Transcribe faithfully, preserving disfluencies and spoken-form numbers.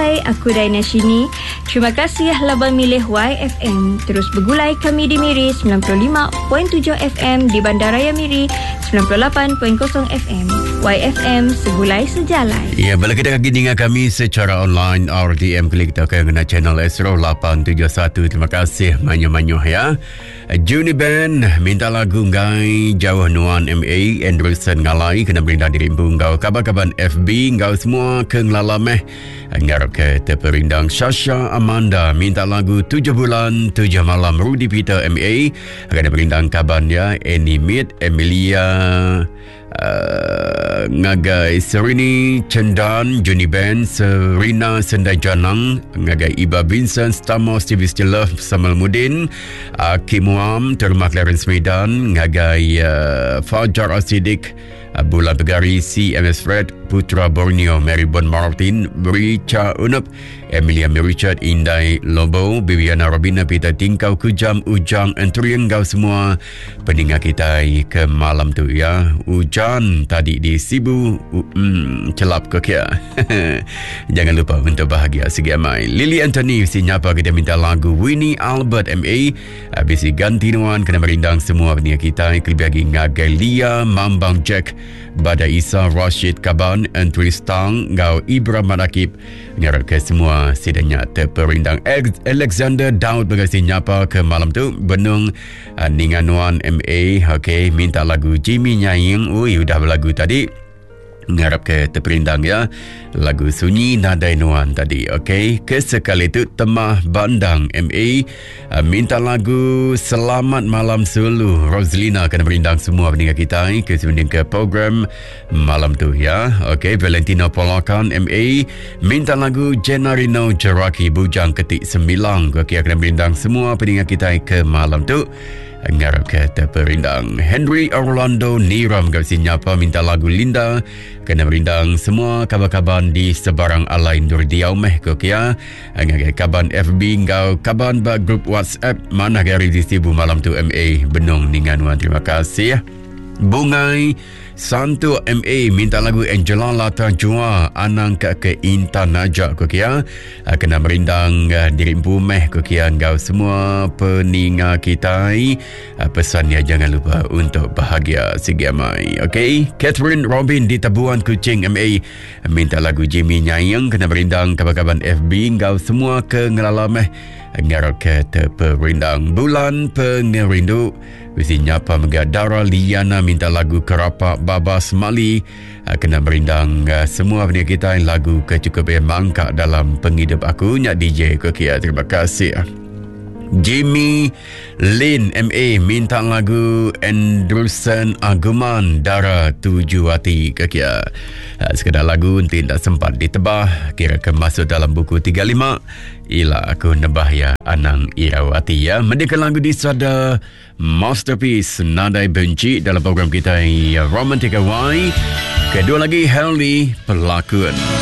Hai, aku Daina Shini. Terima kasih laban milih Y F M. Terus bergulai kami di Miri sembilan puluh lima titik tujuh F M, di Bandaraya Miri sembilan puluh lapan titik kosong F M. Y F M, segulai sejalai. Ya, bala kita kaki dengar kami secara online R T M, klik kita ke ngena channel S lapan tujuh satu. Terima kasih manyo-manyo ya. Juni Ben minta lagu ngai jauh nuan M A Anderson ngalai kena berindang diri empu ngau kaban-kaban F B ngau semua ke ngelalameh ngarap ke terperindang. Sasha Amanda minta lagu tujuh bulan tujuh malam Rudy Peter M A kena berindang kaban ya Annie Mead Emilia Uh, ngagai Serini Cendan Juni Ben Serina Sendai Janang ngagai Iba Vincent Stamos T V Still Love Samuel Mudin uh, Kim Wam Terma Clarence Medan ngagai uh, Fajar Asidik uh, Bulan Pegari C M S Fred Putra Borneo Mary Bon Martin Richa Unup Emilia Richard Indai Lobo Bibiana Robina Peter Tingkau Kujam Ujang Entrian gau semua pendengar kita ke malam tu ya. Hujan tadi di Sibu mm, celap ke kia. Jangan lupa untuk bahagia segi amai. Lily Anthony si nyapa kita minta lagu Winnie Albert M A habis ganti nuan kena merindang semua pendengar kita kelebih lagi ngagai Lia Mambang Jack Bada Isa Rashid Kaban Entry Stang ngau Ibra Manakib ngarap ke semua sidanya terperindang. Alexander Daud berkasi nyapa ke malam tu Benung uh, Ninganuan M A okey minta lagu Jimmy Nyaing. Ui udah berlagu tadi ngarap ke terperindang ya lagu Sunyi Nadai Nuan tadi. Okey, kesekali tu Temah Bandang M A uh, minta lagu Selamat Malam Sulu Roslina kena berindang semua pendengar kita ke sebanding ke program malam tu ya. Okey, Valentino Polakan M A minta lagu Gennarino Jeraki Bujang Ketik Sembilang. Okey, kena berindang semua pendengar kita ke malam tu ngarap ke terperindang. Henry Orlando Niram kat sini nyapa minta lagu Linda kena merindang semua kaban-kaban di sebarang alai ndur diau meh ko kia ngagai kaban F B ngau kaban ba grup WhatsApp mana gari di Sibu malam tu M A Benung Ninganuan. Terima kasih. Bungai Santu M A minta lagu Angela Lata Jua Anang ke ke Intan Najak ko kia kena merindang diri empu meh ko kia ngau semua peninga kita. Pesannya jangan lupa untuk bahagia segi amai. Okey, Catherine Robin di Tabuan Kuching M A minta lagu Jimmy Nyayang kena merindang kaban-kaban F B ngau semua ke ngelala meh ngarap ke terperindang. Bulan Pengerindu mesti nyapa mega Dara Liana minta lagu Kerapak Babas Mali kena merindang semua pendengar kita lagu kecukup yang mangkak dalam penghidup aku nyak D J ko kia. Terima kasih. Jimmy Lin M A minta lagu Anderson Aguman Dara Tuju Hati ke kia. Sekadar lagu nanti tak sempat ditebah kira ke masuk dalam buku tiga puluh lima ila aku nebah ya Anang Irawati ya. Mendengar lagu di sada Masterpiece Nadai Benci dalam program kita Romantika Y. Kedua lagi Helly Pelakon.